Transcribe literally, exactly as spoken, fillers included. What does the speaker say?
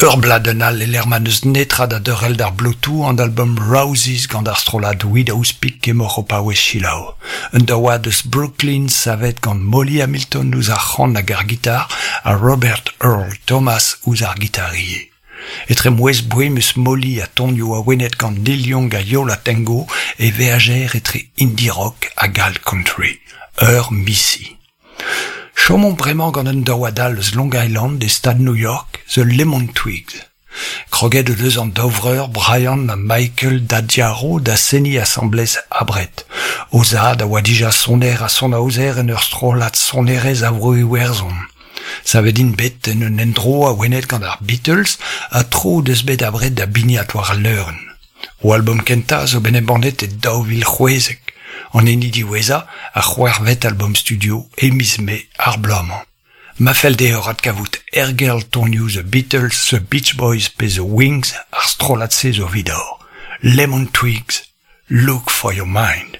Ur bladenn all e-lec'h ma n'eus netra da deurel d'ar blotoù, an album Roses gant ar strollad Widow's Peak emaoc'h o paouez selaou. Un daouad eus Brooklyn savet gant Molly Hamilton ouzh ar c'han hag ar gitar ha Robert Earl Thomas ouzh ar gitar ivez. Etre mouezh boemus Molly ha tonioù awenet gant Neil Young ha Yo La Tengo e veajer etre indie rock hag alt country. Ur misi. Chomomp bremañ gant un daouad all eus Long Island e stad New York, The Lemon Twigs. Kroget o deus an daou vreur Brian ha Michael D'Addario da seniñ asambles abred. O zad a oa dija soner ha sonaozer en ur strollad sonerezh a Vro-Iwerzhon. Savet int bet en un endro awenet gant ar Beatles ha tro o deus bet abred da bignat war al leurenn. O album kentañ zo bet embannet e daou vil c'hwezek. An hini diwezhañ, ar c'hwec'hvet album studio e miz Mae ar bloaz-mañ. Ma fell deoc'h adkavout ergelc'h tonioù The Beatles, The Beach Boys pe The Wings, ar strollad-se zo evidoc'h. Lemon Twigs, Look for Your Mind.